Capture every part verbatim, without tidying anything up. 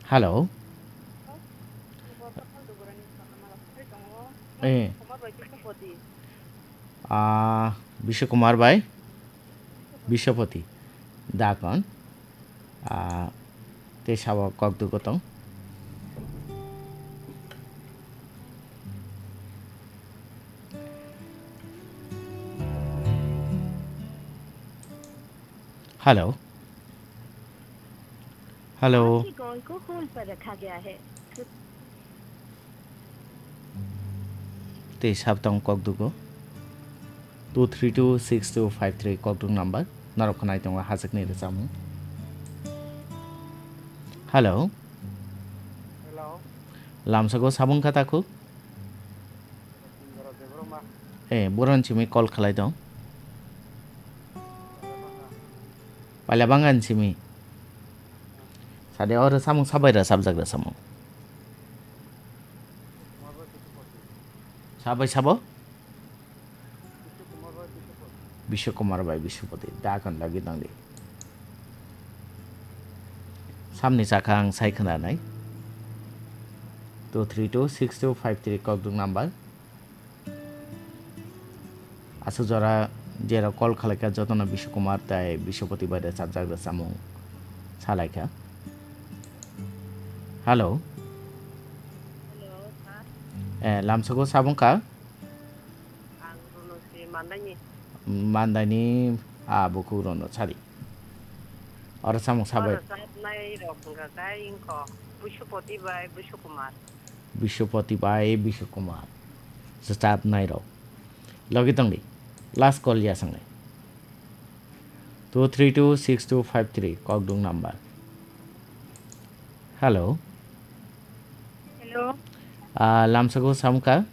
Hello. Eh. Ah, Bishu Kumar bai? Biswapati. Dakon. Ah, tei sabo kokduk gotong. Hello. Hello. आपके कॉल को होल्ड पर रखा गया है। Tei sabtang kokdugo. Two three two six two five three kokduk number. Norok khnai tongo hachwkni rwchapmung. Hello. Hello. Lamsako sabung kha takhuk? Borok Debbarma. Eh, boron simi call khlai tong. Paila bangani simi. Sade oro samung sabai ra sabjak ra samung. Sabai sabo? Bishu Kumar bai Biswapati. Dakon lagi tongdi. Samni chakha ang sai khna nai. Two three two six two five three kokduk number. Aswk jora jerok call khlaikha jotono Bishu Kumar tei Biswapati bai rwchapjak rwchapmung salaikha. Hello. Hello, sir. Eh, lamsako sabung kha? Ang Runo si Mandaini. Mandaini, ah, bukhuk Runo sari. Oro samung sabai. Oro sabnai rok hwnkha khe ingkho Biswapati bai Bishu Kumar. Biswapati bai Bishu Kumar. Swchapnai rok. Logi tongdi. Last call ya sangnai. Two three two six two five three kokdung number. Hello. Hello. Ah, lamsako samkha?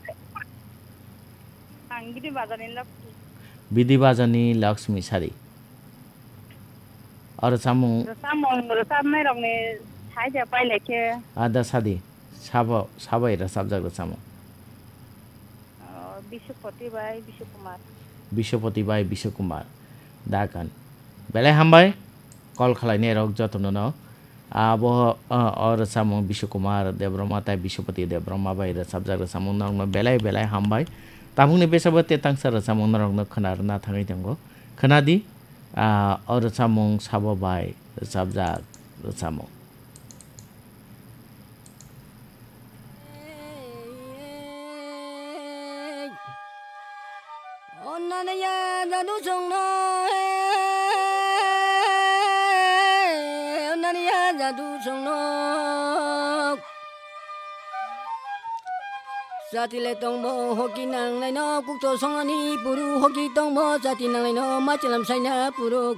Ang Bidi Bazarni Lakshmi. Bidi Bazarni Lakshmi sari. Oro samung. Rwchapmung, rwchapnai rokni saida pailai khe. Ada sadi. Sabo, sabai rwchapjak rwchapmung. Oh, Biswapati bai Bishu Kumar. Biswapati bai Bishu Kumar. Dakan. Belai hambai. Call khlainai rok jotono no. Abo, ah, o rwchapmung Bishu Kumar Debbarma tai Biswapati Debbarma bai rwchapjak rwchapmung norokno belai belai hambai. Tabukni besa bo te tangsa rwchapmung norokno khna rwna thangwi tongo. Khna di, ah, o rwchapmung sabo bai rwchapjak rwchapmung. Onnani ya jadu songno, onnani ya jadu songno. Jati le tongbo hoki nang laino, kukto songani puru hoki tongbo, jati nang laino machalam saina puru.